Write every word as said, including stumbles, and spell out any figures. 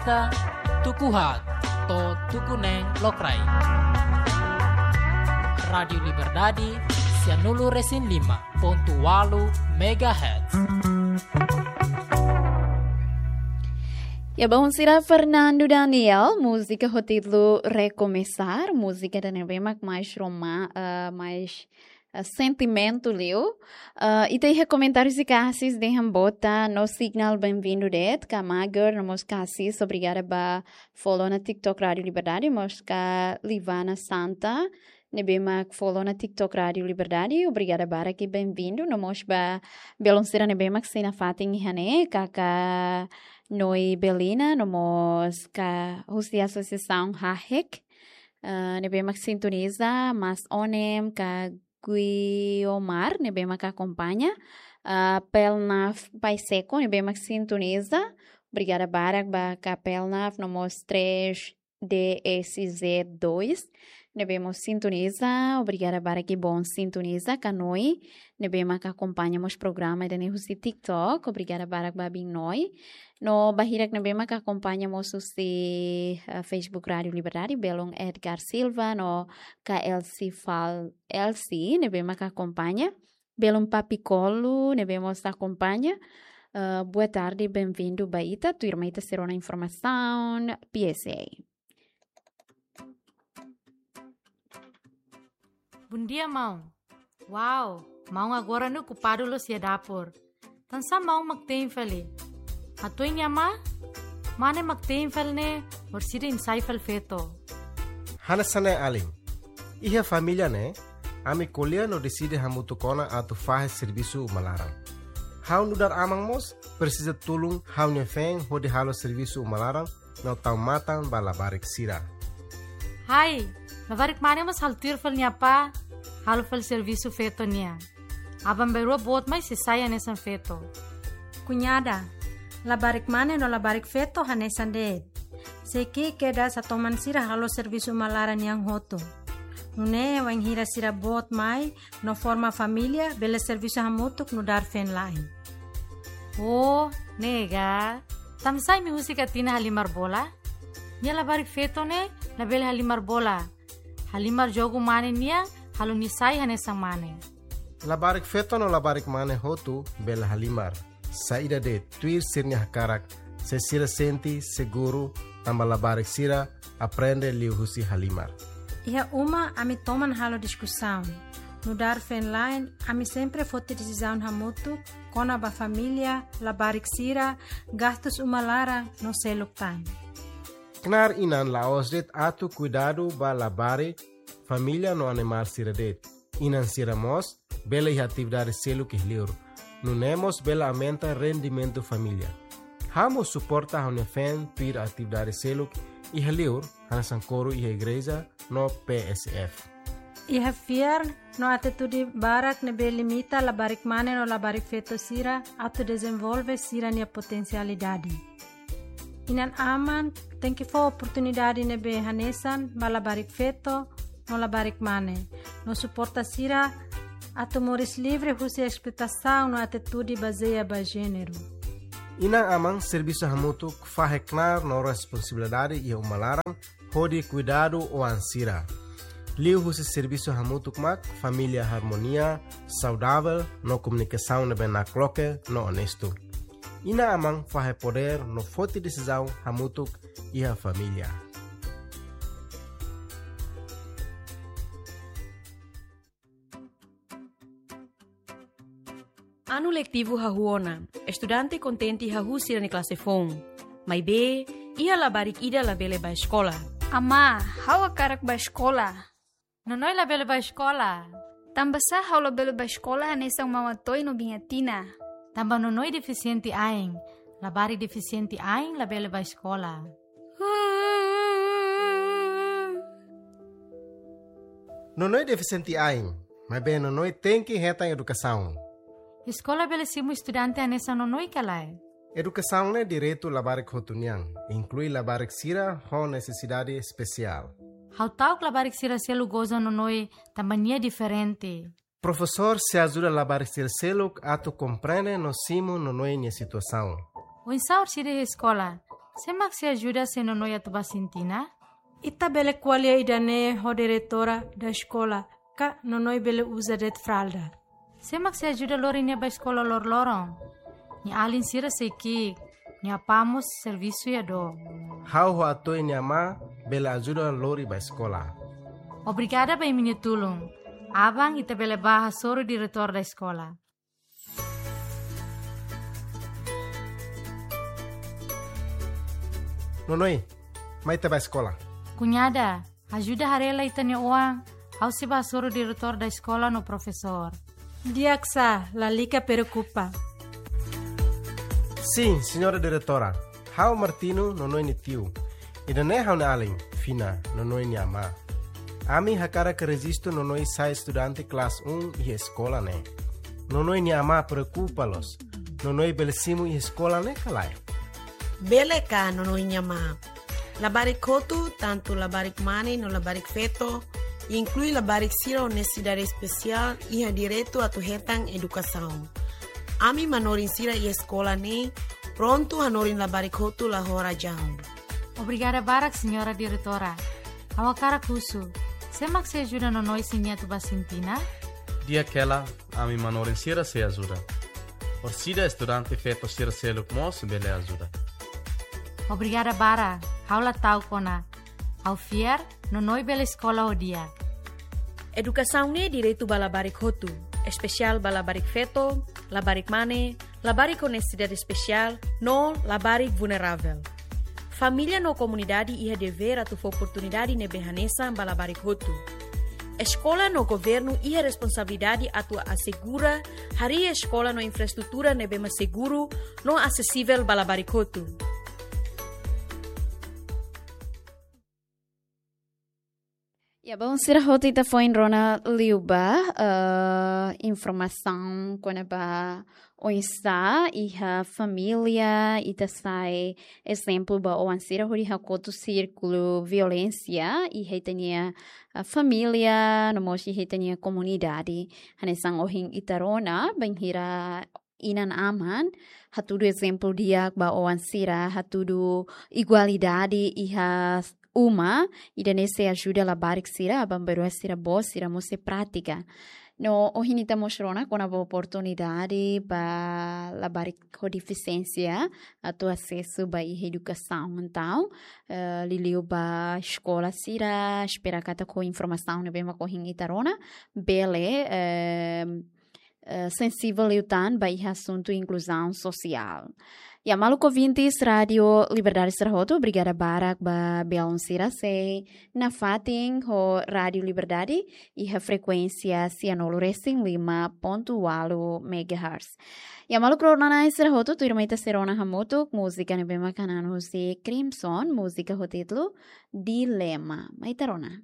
Tuku haat to'o tuku neen lokraik. Rádiu Liberdade, sianulu resin lima pontu ualu megahertz. Ya, baun sira Fernando Daniel, múzika ho títulu Recomeçar, múzika ida ne'ebé mak mais roma-, eh, mais eh, sentimentu liu. Eh, ita iha komentáriu sira Kasis dehan boot, no signál benvindu de'it, ka Mager, no mós Kasis, obrigada ba follow ona TikTok Rádiu Liberdade, mós ka Livana Santa, ne'ebé mak follow ona TikTok Rádiu Liberdade, obrigada barak i benvindu, no mós ba belun sira ne'ebé mak sei nafatin iha ne'e, kaka Noi Belina, no mós ka husi Asosiasaun Hahek, eh, ne'ebé mak sintoniza, Mas Onem, ka Guiomar, ne'ebé mak akompaña. Ah, Pelnaf Paiseko, ne'ebé mak sintoniza. Obrigada barak ba ka Pelnaf, no mós três D S Z dois, ne'ebé mós sintoniza. Obrigada barak i boot sintoniza ka Noi, ne'ebé mak akompaña mós programa ida-ne'e husi TikTok. Obrigada barak ba biin Noi. No ba hirak ne'ebé mak akompaña mós husi, eh, Facebook Rádiu Liberdade, belun Edgar Silva, no ka Elsie Fal Elsie, ne'ebé mak akompaña. Belun Papi Kolu, ne'ebé mós akompaña. Eh, boa tarde, benvindu ba ita. Tuirmai ita sei rona informasaun P S A. Bondia, maun. Wow, maun agora ne'e okupadu loos iha dapur. Tansá maun mak tein fali? Hato'o nia amá, mane mak tein fali ne'e, orsida imi sai fali feto. Hanesan ne'e alin. Iha família ne'e, ami ko'alia no deside hamutuk ona atu fahe servisu uma laran. Ha'u nu'udar aman mós, presiza tulun ha'u-nia feen hodi halo servisu uma laran, no tau matan ba labarik sira. Hai, labarik mane mós halo tuir fali nia apá, halo fali servisu feto nian. Aban-bainrua boot mai sei sai hanesan feto. Kuñada, labarik mane no labarik feto hanesan de'it. Sei ki'ik kedas atu toman sira halo servisu uma laran nian hotu. Nune'e wainhira sira boot mai, no forma família, bele servisu hamutuk nu'udar feen-la'en. Oh, ne'e ka. Tansá imi husik ita-nia halimar bola? Nia labarik feto ne'e labele halimar bola. Halimar jogu mane nian, halo nia sai hanesan mane. Labarik feto no labarik mane hotu bele halimar. Saida de'it, tuir sira-nia hakarak, se sira sente seguru, tanba labarik sira aprende liuhusi halimar. Iha uma ami toman halo diskusaun. Nu'udar feen-la'en, ami sempre foti desizaun hamutuk kona-ba família, labarik sira, gastus uma laran no seluk tan. Knaar inan la'ós de'it atu kuidadu ba labarik, família no animál sira de'it. Inan sira mós bele iha atividade seluk iha liur. Nune'e mós bele aumenta rendimentu família. Ha'u mós suporta ha'u-nia feen tuir atividade seluk iha liur, hanesan koru iha igreja no P S F. Iha fiar no atitude barak ne'ebé limita labarik mane no labarik feto sira atu dezenvolve sira-nia potensialidade. Inan-aman tenke fó oportunidade ne'ebé hanesan ba labarik feto no labarik mane, no suporta sira atu moris livre husi esploitasaun no atitude bazeia ba jéneru. Inan-aman servisu hamutuk fahe knaar no responsabilidade iha uma laran hodi kuidadu oan sira. Liuhusi servisu hamutuk mak família harmonia, saudavel no komunikasaun ne'ebé nakloke no onestu. Inan-aman fahe podér no foti desizaun hamutuk iha família. Anu letivu hahú ona, estudante kontente hahú sira-nia klase foun. Maibé, iha labarik ida labele bá eskola. Amá, ha'u hakarak bá eskola. Nonoi labele bá eskola. Tanbasá ha'u labele bá eskola hanesan Mama Toy no biin Atina? Tanba Nonoi defisiente ain. Labarik defisiente ain labele bá eskola. Nonoi defisiente ain, maibé Nonoi tenke hetan edukasaun. Eskola bele simu estudante hanesan Nonoi ka lae? Edukasaun ne'e direitu labarik hotu nian, inklui labarik sira ho nesesidade espesiál. Ha'u ta'uk labarik sira selu goza Nonoi tanba nia diferente. Profesór sei ajuda labarik sira seluk atu komprende no simu Nonoi nia situasaun. Oinsá orsida iha eskola? Sé mak sei ajuda se Nonoi atu bá sintina? Ita bele ko'alia ida-ne'e ho diretora da eskola, ka Nonoi bele uza de'it fralda. Sé mak sei ajuda lori nia bá eskola loroloron? Nia alin sira sei ki'ik, nia apá mós servisu iha dook. Ha'u ho Ato'e nia amá bele ajuda lori bá eskola. Obrigada ba imi-nia tulun. Aban ita bele bá hasoru diretór da eskola. Nonoi, mai ita bá eskola. Kuñada, ajuda haree lai ita-nia oan, ha'u sei bá hasoru diretór da eskola no profesór. Di'ak sá, lalika preokupa. Sin, señora diretora. Ha'u Martino, Nonoi nia tiu. Ida-ne'e ha'u-nia alin, Fina, Nonoi nia amá. Ami hakarak rejistu Nonoi sai estudante kelas um iha eskola ne'e. Nonoi nia amá preokupa loos. Nonoi bele simu iha eskola ne'e ka lae? Bele ka, Nonoi nia amá. Labarik hotu, tantu labarik mane no labarik feto, inklui labarik sira ho nesesidade espesiál, iha direitu atu hetan edukasaun. Ami manorin sira iha eskola ne'e prontu hanorin labarik hotu la ho razaun. Obrigada barak, señora diretora. Ha'u hakarak husu, sé mak sei ajuda Nonoi se nia atu bá sintina? Di'ak hela, ami manorin sira sei ajuda. Orsida estudante feto sira seluk mós bele ajuda. Obrigada barak, ha'u la ta'uk ona. Ha'u fiar, Nonoi bele eskola ho di'ak. Edukasaun ne'e direitu ba labarik hotu, espesiál ba labarik feto, labarik mane, labarik ho nesesidade espesiál, no labarik vulneravel. Família no komunidade iha devér atu fó oportunidade ne'ebé hanesan ba labarik hotu. Eskola no governu iha responsabilidade atu asegura harii eskola no infraestrutura ne'ebé mak seguru no asesivel ba labarik hotu. Ya, bom, sira hotu, ita foin rona liu ba, eh, informasaun kona-ba oinsá iha família ita sai ezemplu ba oan sira hodi hakotu sírkulu violénsia iha ita-nia, eh, família, no mós iha ita-nia komunidade. Hanesan ohin ita rona, bainhira inan-aman hatudu ezemplu di'ak ba oan sira, hatudu igualdade iha uma, ida-ne'e sei ajuda labarik sira, aban-bainrua sira-boot, sira mós sei pratika. No ohin ita mós rona kona-ba oportunidade ba labarik ho defisiénsia atu asesu ba iha edukasaun. Entaun, eh, liuliu ba eskola sira, espera katak ho informasaun ne'ebé mak ohin ita rona, bele, eh, eh, sensivel liután ba iha asuntu inkluzaun sosiál. Ya, maluk ouvintes Rádiu Liberdade sira hotu, obrigada barak ba belun sira sei nafatin ho Rádiu Liberdade iha frekuénsia sianulu resin lima pontu ualu megahertz. Ya, maluk rona-na'in sira hotu, tuirmai ita sei rona hamutuk múzika ne'ebé mak hanan husi Crimson, múzika ho títulu Dilema. Mai ita rona.